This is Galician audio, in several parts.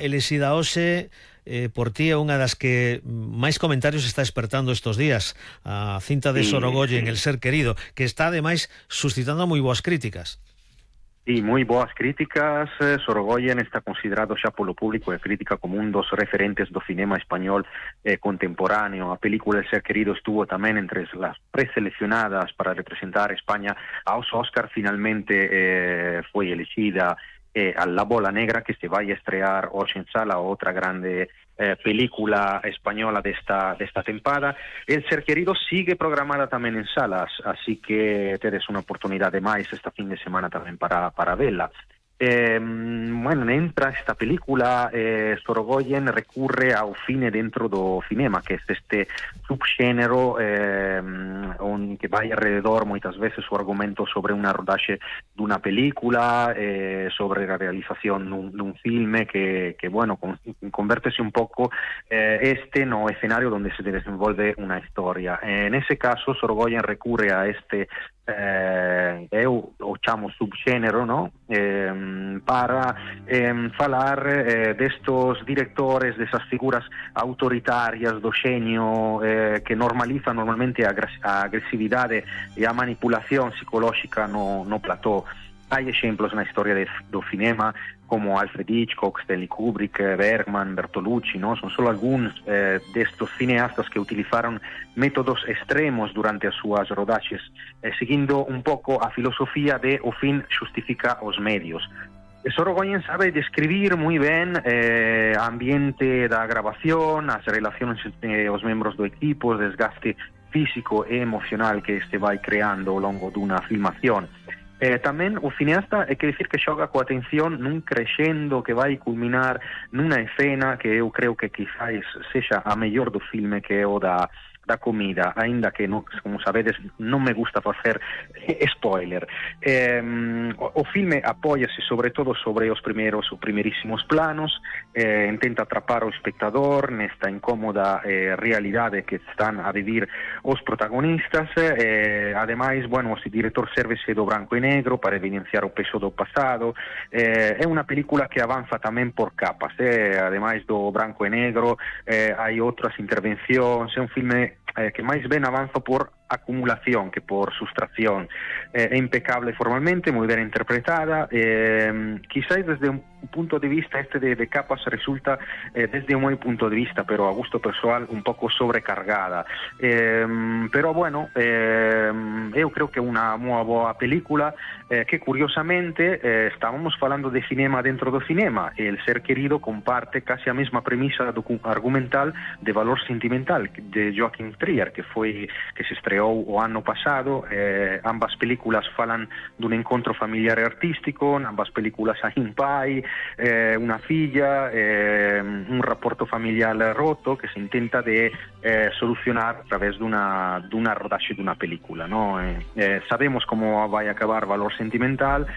elexida hoxe por ti é unha das que máis comentarios está despertando estes días, a cinta de Sorogoyen, El ser querido, que está ademais suscitando moi boas críticas. Sí, moi boas críticas. Sorogoyen está considerado xa polo público e crítica como un dos referentes do cinema español contemporáneo. A película El ser querido estuvo tamén entre as preseleccionadas para representar a España aos Oscar. Finalmente foi elexida a La Bola Negra, que se vai a estrear hoxe en sala, outra grande película española desta tempada. El ser querido sigue programada tamén en salas, así que tedes unha oportunidade máis esta fin de semana tamén para vela. Bueno, entra esta película, Sorogoyen recurre ao cine dentro do cinema, que é este subxénero que vai alrededor moitas veces o argumento sobre unha rodaxe dunha película, sobre a realización dun filme que bueno, convértese un pouco no escenario onde se desenvolve unha historia. En ese caso, Sorogoyen recurre a este eu o chamo subxénero, no? Para falar destos directores, desas figuras autoritarias do xenio que normalizan normalmente a agresividade e a manipulación psicolóxica no plató. Hai exemplos na historia do cinema como Alfred Hitchcock, Stanley Kubrick, Bergman, Bertolucci, ¿no? Son solo algúns destos cineastas que utilizaron métodos extremos durante as súas rodaxes, seguindo un pouco a filosofía de o fin xustifica os medios. Sorogoyen sabe describir moi ben o ambiente da grabación, as relacións entre os membros do equipo, o desgaste físico e emocional que este vai creando ao longo dunha filmación. Tamén o cineasta é que dicir que xoga coa atención nun crescendo que vai culminar nunha escena que eu creo que quizás sexa a mellor do filme, que é o da comida, aínda que, como sabedes, non me gusta facer spoiler. O filme apóiase sobre todo sobre os primerísimos planos, intenta atrapar o espectador nesta incómoda realidade que están a vivir os protagonistas. Ademais, bueno, o director sérvese do branco e negro para evidenciar o peso do pasado. É unha película que avanza tamén por capas, ademais do branco e negro hai outras intervencións. É un filme que máis ben avanza por acumulación que por sustracción. É impecable formalmente, moi ben interpretada. Quizás desde un punto de vista de capas resulta, desde un meu punto de vista, pero a gusto persoal, un pouco sobrecargada. Pero bueno, eu creo que é unha moi boa película que curiosamente estábamos falando de cinema dentro do cinema. El ser querido comparte casi a mesma premisa argumental de Valor sentimental de Joachim Trier, que se estreou o ano pasado. Ambas películas falan dun encontro familiar e artístico, ambas películas hai un pai, unha filla, un rapporto familiar roto que se intenta de solucionar a través dunha rodaxe dunha película, no? Sabemos como vai acabar Valor sentimental,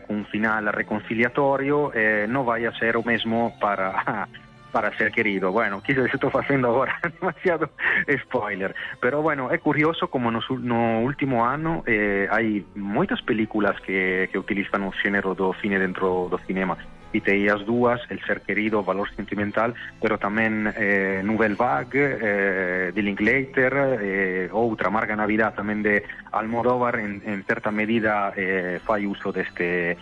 cun final reconciliatorio. Non vai a ser o mesmo para ser querido. Bueno, quizás estou facendo agora demasiado spoiler, pero bueno, é curioso como no último ano hai moitas películas que utilizan o xénero do cine dentro do cinema. Citei as dúas, El ser querido, Valor sentimental, pero tamén Nouvelle Vague de Linklater, outra Amarga Navidad tamén de Almodóvar. En certa medida fai uso desta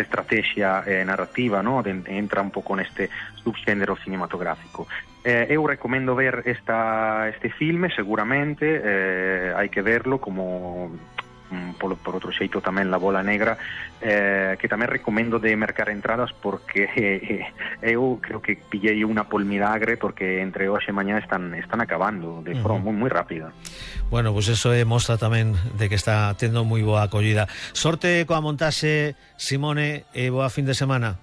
estrategia narrativa, ¿no? Entra un pouco neste subxénero cinematográfico. Eu recomendo ver este filme, seguramente. Hai que verlo, como por outro xeito tamén La Bola Negra, que tamén recomendo de mercar entradas, porque eu creo que pillei unha polmidagre, porque entre hoxe e mañá están acabando de forma moi rápida. Bueno, pues eso mostra tamén de que está tendo moi boa acollida. Sorte coa montaxe, Simone, e boa fin de semana.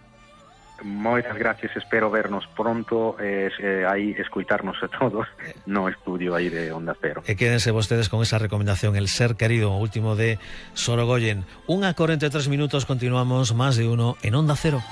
Moitas gracias, espero vernos pronto, aí escoitarnos a todos no estudio aí de Onda Cero. E quédense vostedes con esa recomendación, El ser querido, o último de Sorogoyen. 1:43 minutos, continuamos Más de Uno en Onda Cero.